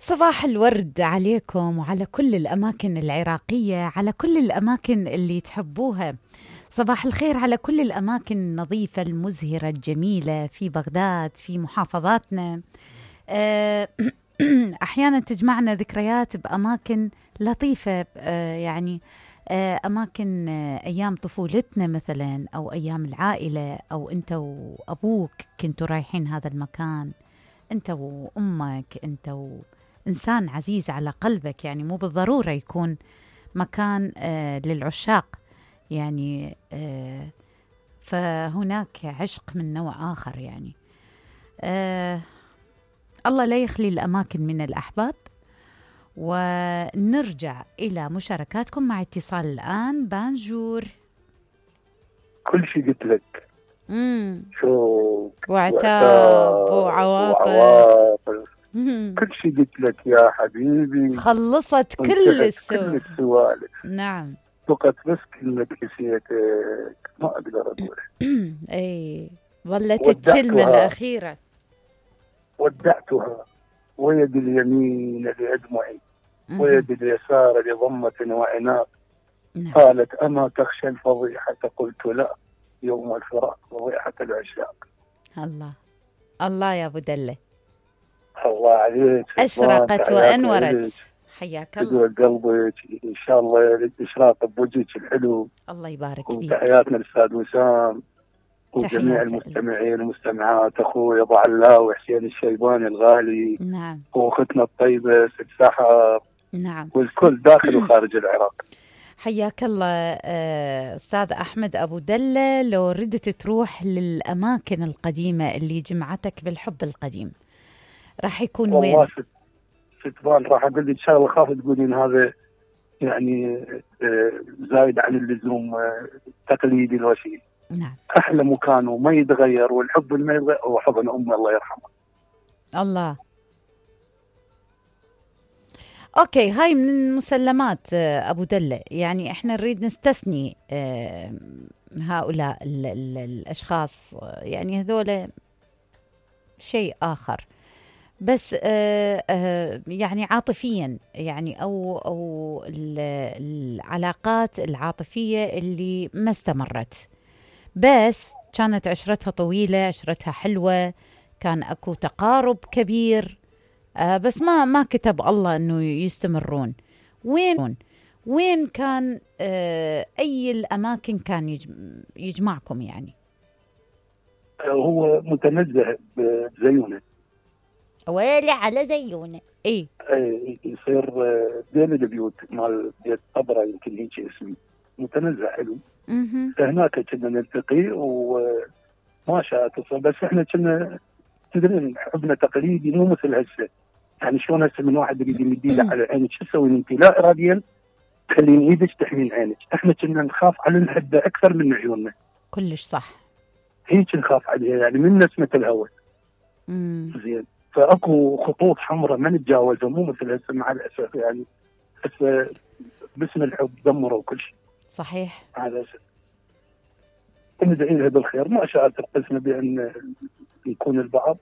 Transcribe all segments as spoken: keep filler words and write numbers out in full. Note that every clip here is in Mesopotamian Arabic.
صباح الورد عليكم وعلى كل الأماكن العراقية، على كل الأماكن اللي تحبوها. صباح الخير على كل الأماكن النظيفة المزهرة الجميلة في بغداد، في محافظاتنا. أحيانا تجمعنا ذكريات بأماكن لطيفة، يعني أماكن أيام طفولتنا مثلا، أو أيام العائلة، أو أنت وأبوك كنتوا رايحين هذا المكان، أنت وأمك، أنت و إنسان عزيز على قلبك. يعني مو بالضرورة يكون مكان آه للعشاق، يعني آه فهناك عشق من نوع آخر. يعني آه الله لا يخلي الأماكن من الأحباب. ونرجع إلى مشاركاتكم مع اتصال الآن. بانجور. كل شيء قلت لك. مم. شوق وعتاب وعواطف، وعواطف. كل شيء قلت لك يا حبيبي، خلصت كل السوالف. كل السوالف. نعم. فقط بس كلمة نسيتك ما أقدر أقول. اي ظلت الكلمة الأخيرة. ودعتها ويد اليمين لأدمعي ويد اليسار لضمة وعناق. نعم. قالت أما تخشى الفضيحة؟ قلت لا، يوم الفراق فضيحة العشاق. الله الله يا أبو دلة، الله عليك، أشرقت وأنورت. حياك الله. قلبك إن شاء الله إشراق بوجهك الحلو. الله يبارك فيك. وتحياتنا للأستاذ وسام وجميع المستمعين والمستمعات، أخوي أبو علاء وحسين الشيباني الغالي. نعم. وأختنا الطيبة ست سحر. نعم. والكل داخل وخارج العراق. حياك الله أستاذ أحمد أبو دلة. لو ردت تروح للأماكن القديمة اللي جمعتك بالحب القديم، راح يكون وين؟ والله ستبان راح أقول إن شاء الله، خاف تقولين هذا يعني زايد عن اللزوم تقليدي لو شيء. نعم. أحلى مكان وما يتغير، والحب اللي ما يتغير هو حضن أمي الله يرحمها. الله. أوكي، هاي من المسلمات أبو دلة. يعني إحنا نريد نستثني هؤلاء ال ال الأشخاص، يعني هذول شيء آخر، بس آه آه يعني عاطفيا، يعني أو أو العلاقات العاطفية اللي ما استمرت، بس كانت عشرتها طويلة، عشرتها حلوة، كان أكو تقارب كبير، آه بس ما ما كتب الله إنه يستمرون. وين وين كان آه أي الأماكن كان يجمعكم؟ يعني هو متنزه بزيونة. ويلي على زيونة. ايه ايه يصير بين البيوت مال بيت طبرة، يمكن هيك اسمي، متنزه حلو. اها. فهناك كنا نلتقي وما شاء تصل، بس احنا كنا تدرين حبنا تقليدي مو مثل هسه. يعني شلون هسه من واحد يريد يمد ايده على عينك شو تسوي انت؟ لا اراديا تخلين ايدك تحمين عينك. احنا كنا نخاف على الحده اكثر من عيوننا. كلش صح. هيك نخاف عليها، يعني من نسمه الهواء. امم زين. فاكو خطوط حمراء ما نتجاوزها، مو مثل هسه مع الاسف. يعني هسه باسم الحب دمروا كل شيء. صحيح. على اسف. ندعي لها بالخير، ما شاء ترقصنا بان نكون البعض.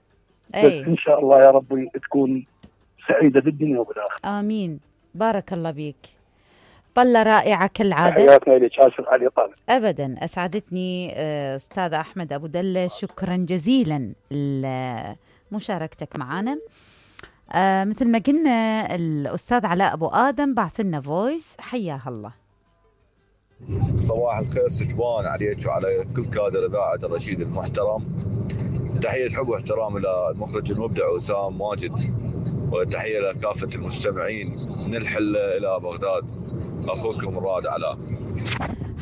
أي. بس ان شاء الله يا ربي تكون سعيده بالدنيا وبالاخره. امين. بارك الله بيك. طلة رائعة كالعادة. حياتنا لك، آسف على الإطالة. أبدا، أسعدتني أستاذ أحمد أبو دلة، شكرا جزيلا لمشاركتك معنا. آه مثل ما قلنا الأستاذ علاء أبو آدم بعث لنا فويس، حياه الله. صباح الخير ستبان عليك وعلى كل كادر إذاعة الرشيد المحترم. تحية حب واحترام إلى المخرج المبدع وسام ماجد، وتحية لكافة المستمعين من الحل إلى بغداد. أخوكم الرائد علاء.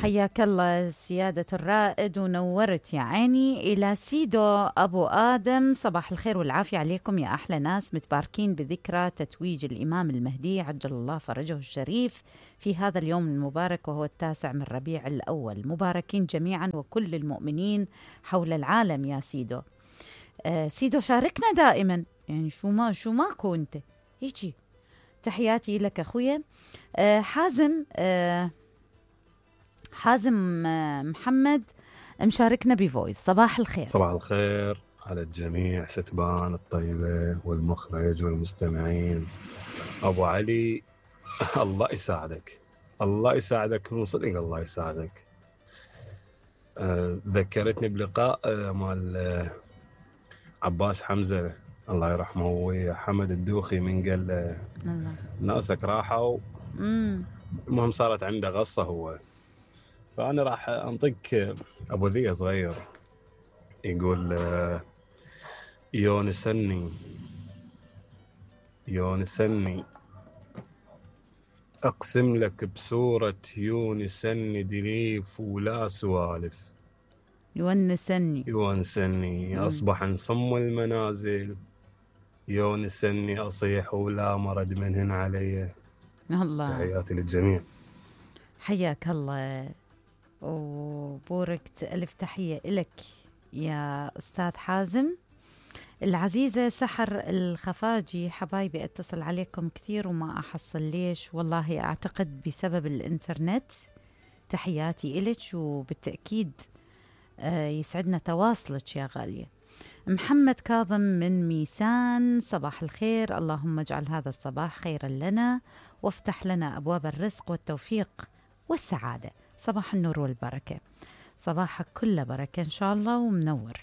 حياك الله سيادة الرائد ونورت يا عيني. إلى سيدو أبو آدم، صباح الخير والعافية عليكم يا أحلى ناس، متباركين بذكرى تتويج الإمام المهدي عجل الله فرجه الشريف في هذا اليوم المبارك، وهو التاسع من ربيع الأول. مباركين جميعا وكل المؤمنين حول العالم يا سيدو. آه سيدو شاركنا دائما، يعني شو ما شو ماكو انت هيجي. تحياتي لك أخويا. آه حازم آه حازم محمد مشاركنا بفويس. صباح الخير. صباح الخير على الجميع ستبان الطيبة والمخرج والمستمعين. أبو علي الله يساعدك، الله يساعدك من صدق، الله يساعدك. أه ذكرتني بلقاء أه مال أه عباس حمزة الله يرحمه وحمد الدوخي من قال له ناسك راحوا، المهم صارت عنده غصة هو. فأنا راح أنطق أبو ذي صغير يقول أه يونسني يونسني أقسم لك بسورة يونسني دليف ولا سوالف. يونسني يونسني أصبح نصم المنازل، يونسني أصيح ولا مرد منهن علي. الله، تحياتي للجميع. حياك الله وبوركت، ألف تحية إلك يا أستاذ حازم. العزيزة سحر الخفاجي، حبايبي اتصل عليكم كثير وما أحصل ليش، والله أعتقد بسبب الإنترنت. تحياتي إلك وبالتأكيد يسعدنا تواصلك يا غالية. محمد كاظم من ميسان، صباح الخير، اللهم اجعل هذا الصباح خيرا لنا وافتح لنا أبواب الرزق والتوفيق والسعادة. صباح النور والبركة، صباحك كله بركة إن شاء الله ومنور.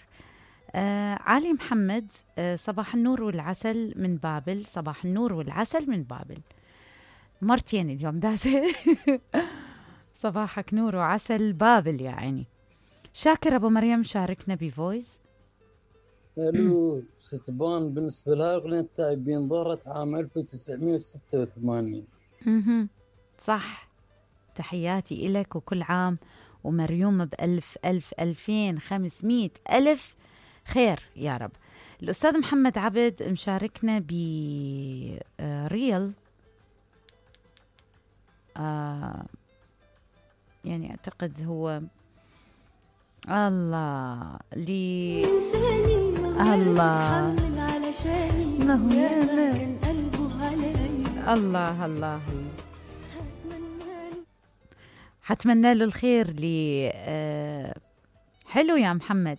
آه علي محمد، آه صباح النور والعسل من بابل، صباح النور والعسل من بابل، مرتين اليوم دازة. صباحك نور وعسل بابل يا عيني. شاكر أبو مريم شاركنا بفويس. الو ستبان بالنسبة لها أغنية التائبين ظهرت عام ألف وتسعمائة وستة وثمانين. اها صح، تحياتي إلك وكل عام ومريوم بألف ألف ألفين خمسمائة ألف خير يا رب. الأستاذ محمد عبد مشاركنا بريل، آه يعني أعتقد هو الله لي الله الله الله حتمنى له الخير لي. آه حلو يا محمد.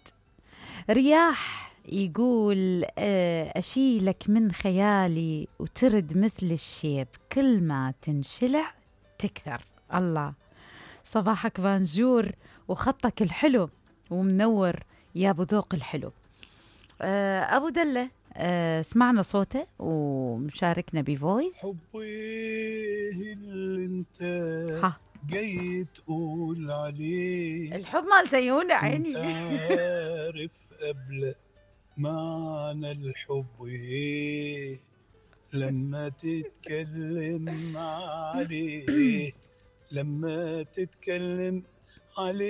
رياح يقول آه أشيلك من خيالي وترد مثل الشيب، كل ما تنشلع تكثر. الله، صباحك بانجور وخطك الحلو ومنور يا أبو ذوق الحلو. آه أبو دلة، آه سمعنا صوته ومشاركنا بفويس. حبي اللي انت ها جاي تقول عليه، الحب مال زيونة عيني. انت عارف قبل معنى الحب ايه لما تتكلم عليه، لما تتكلم عليه.